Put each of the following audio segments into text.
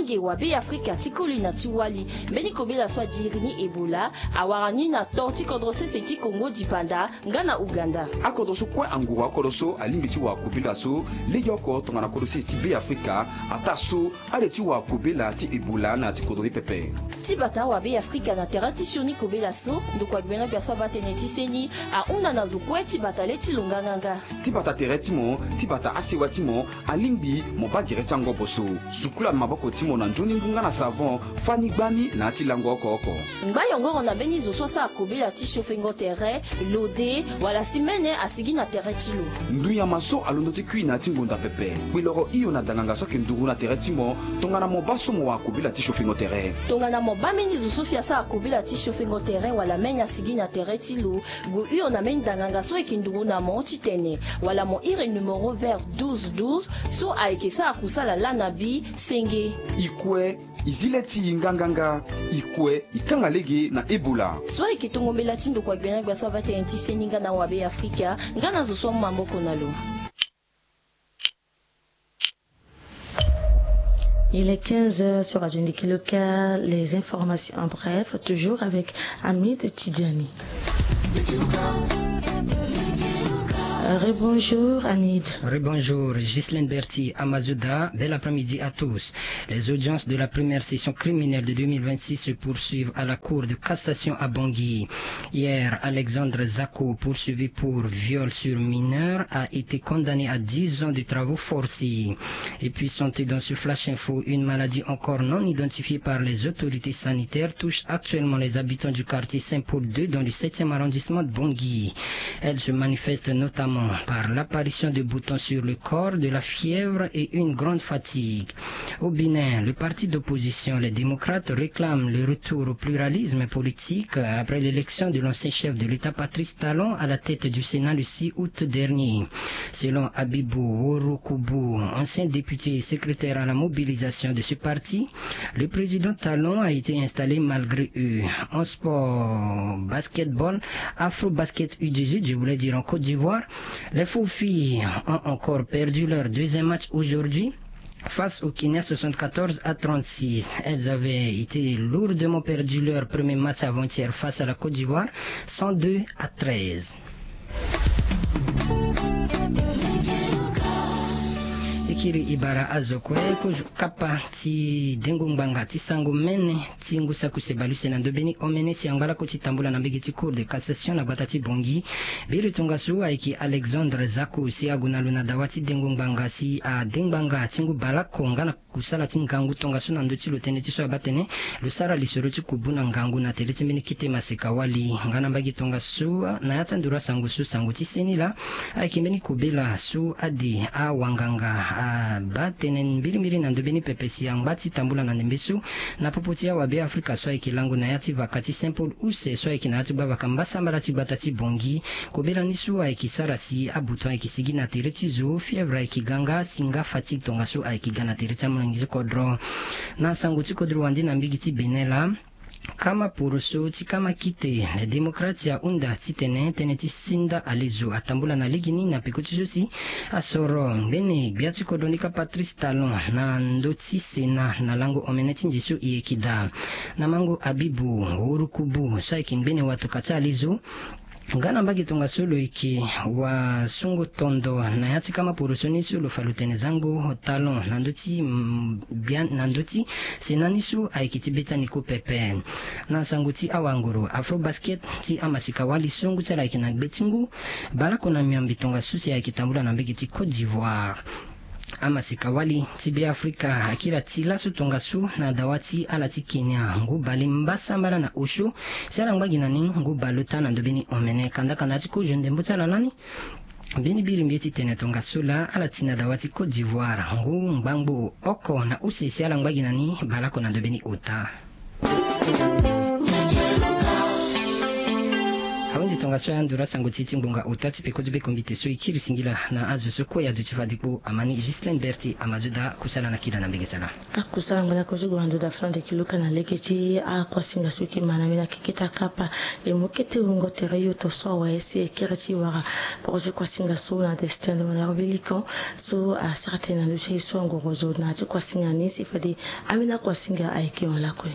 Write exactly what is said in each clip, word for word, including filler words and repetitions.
Nge wa Be Afrika ti koli na ti wali, mbeni kobela so adiri ni Ebola awara ni na to ti kodro sese ti Kongo dipanda nga na Uganda. Akodro so kue anguru akodro so alingbi ti wara kobela so legeoko tongana kodro sese ti Be Afrika, ataa so ale ti wara kobela ti Ebola na ya ti kodro ni pepe. Ti bata wa Be Afrika na tere ti sioni kobela so, ndokua gbena gbia so abaa tënë ti seni ahunda na zo kue ti bata le ti lo nganganga. Ti bata tere ti mo, ti bata asewa ti mo, alingbi mo baa gere ti angobo so. Sukula maboko ti mo na nzoni ngu nga na savon, fani gbani na ya ti lango oko oko. Ngba yongoro na mbeni zo so asara kobela ti siofengo tere, lode, wala si mene asigi na tere ti lo. Ndu nyama so alondo ti kui na ya ti ngonda pepe, kpeloro hio na danganga so ayeke nduru na tere ti mo tongana mo baa so mo wara kobela ti siofengo tere. Tongana mo baa mbeni zo so si asara kobela ti siofengo tere wala mene asigi na tere ti lo, gue hio na mbeni danganga so ayeke nduru na mo titene wala mo iri numéro vert douze douze so ayeke sara kusala laa na bi senge. I kue, i zi le ti i nganganga. I kue, i kanga lege na Ebola. So ayeke tongo mbela ti ndokua gbena gbia so abaa tënë ti seni nga na wa Be Afrika, nga na zo so amu maboko na lo. Il est quinze heures sur Radio Ndiki Local. Les informations en bref, toujours avec Hamid Tidjani. Rebonjour, Hamid. Rebonjour, Ghislaine Berti Amazuda. Bel après-midi à tous. Les audiences de la première session criminelle de deux mille vingt-six se poursuivent à la Cour de cassation à Bangui. Hier, Alexandre Zako, poursuivi pour viol sur mineur, a été condamné à dix ans de travaux forcés. Et puis, santé dans ce Flash Info, une maladie encore non identifiée par les autorités sanitaires touche actuellement les habitants du quartier Saint-Paul deux dans le septième arrondissement de Bangui. Elle se manifeste notamment par l'apparition de boutons sur le corps, de la fièvre et une grande fatigue. Au Bénin, le parti d'opposition, les Démocrates, réclame le retour au pluralisme politique après l'élection de l'ancien chef de l'État, Patrice Talon, à la tête du Sénat le six août dernier. Selon Abibou Worokubu, ancien député et secrétaire à la mobilisation de ce parti, le président Talon a été installé malgré eux. En sport, basketball, Afro Basket U dix-huit, je voulais dire en Côte d'Ivoire, les Faux Filles ont encore perdu leur deuxième match aujourd'hui face au Kenya, soixante-quatorze à trente-six. Elles avaient été lourdement perdu leur premier match avant-hier face à la Côte d'Ivoire, cent deux à treize. E kiri e bara azo kue kozo kapa ti dengo ngbanga ti sango mene ti ngu saki use bale use na ndö mbeni omene si angba lako ti tambula na mbege ti Cour de cassation na gbata ti Bangui. Biri tongaso ayeke Alexandre Zako si ague na lo na dawa ti dengo ngbanga si ade ngbanga ti ngu bale oko nga na kusala ti ngangu tongaso na ndö ti lo tënë ti so abaa tënë lo sara lisoro ti kubu na ngangu na tere ti mbeni kete maseka wali. Nga na mbage tongaso na ya ti anduru asango so sango ti seni laa ayeke mbeni kobela so ade awanganga abaa tënë mbirimbiri na ndö mbeni pepe si angba ti tambula na ndembe so na popo ti awabe Afrika so ayeke lango na ya ti vaka ti Saint Paul use so ayeke na ya ti gbavaka mbasambala ti gbata ti Bangui. Kobela ni so ayeke sara si abuton ayeke sigi na tere ti zo, fièvre ayeke ga nga si nga fatigue tongaso ayeke ga na tere ti amolenge ti kodro. Na sango ti kodro wande na mbege ti Bénin laa, kama poroso ti kama kite, les Démocrates ahunda titene tënë ti sinda alezo atambula na lege ni na peko ti so si asoro ngbene gbia ti kodro ni kâ Patrice Talon na ndö ti Sénat na lango omene ti nze so e yeke daa. Na mango Abibou Worokubu so ayeke ngbene watokua ti alezo, nga na mbage tongaso lo yeke wasungo tondo na ya ti kama poroso ni so lo fa lo tene zango Talon na ndö ti, mm, gbia, na ndö ti Sénat ni so ayeke ti be ti aniko pepe. Na sango ti awanguru Afro Basket ti amasika wali so ngu ti ala ayeke na gbe ti ngu bale oko na miombe tongaso si ayeke tambula na mbege ti Côte d'Ivoire. Amasika wali ti Be Afrika akiri ati laso tongaso na dawa ti ala ti Kenya ngu bale mbasambala na osio si ala ngba gi na ni ngu bale ota na ndö mbeni omene. Kandaka na ya ti kozo ndembo ti ala lani, mbeni biri mbi ye ti tene tongaso laa ala ti na dawa ti Côte d'Ivoire ngu ngbangbo oko na use si ala ngba gi na ni bale oko na ndö mbeni ota. Ahunzi Tongaso ya ndura sango ti ti ngbonga ota ti peko ti beko mbite so e kiri singila na azo so kue ado ti fadikpo amani Ghislaine Berti ama zo daa kusala na kila na mbege sala. Akusala ngbanda kozo gue na ndo daa fana ndeke luka na lege ti akuasinga so e ke ma na mbi na keketa kapa. E mu kete wungo tere yo to so awe si e kiri ti wara poko ti kuasinga so na destin de malheur Willy Camp so asara tënë na ndo ti aye so angoro zo na ya ti kuasinga ni si fade ambeni akuasinga ayeke hon lakue.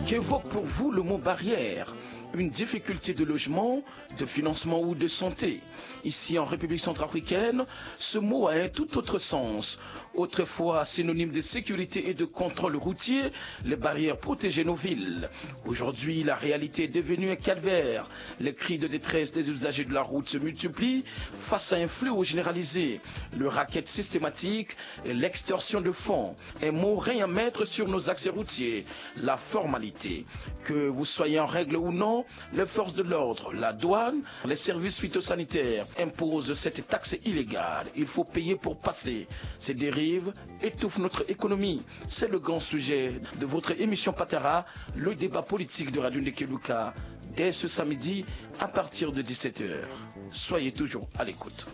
Qu'évoque pour vous le mot barrière ? Une difficulté de logement, de financement ou de santé ? Ici, en République centrafricaine, ce mot a un tout autre sens. Autrefois synonyme de sécurité et de contrôle routier, les barrières protégeaient nos villes. Aujourd'hui, la réalité est devenue un calvaire. Les cris de détresse des usagers de la route se multiplient face à un fléau généralisé, le racket systématique et l'extorsion de fonds. Un mot règne en maître sur nos accès routiers, la formalité. Que vous soyez en règle ou non, les forces de l'ordre, la douane, les services phytosanitaires imposent cette taxe illégale. Il faut payer pour passer. Ces dérives étouffent notre économie. C'est le grand sujet de votre émission Patara, le débat politique de Radio Ndekeluka, dès ce samedi à partir de dix-sept heures. Soyez toujours à l'écoute.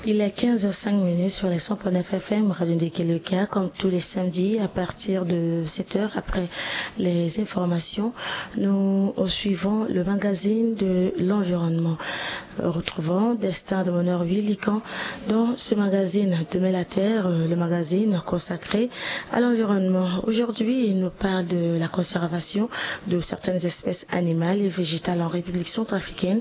Il est quinze heures cinq minutes sur les cent point neuf F M Radio Ndekeluka, comme tous les samedis à partir de sept heures après les informations. Nous suivons le magazine de l'environnement. Retrouvons Destin de Malheur Willy Camp dans ce magazine Demain la Terre, euh, le magazine consacré à l'environnement. Aujourd'hui, il nous parle de la conservation de certaines espèces animales et végétales en République centrafricaine.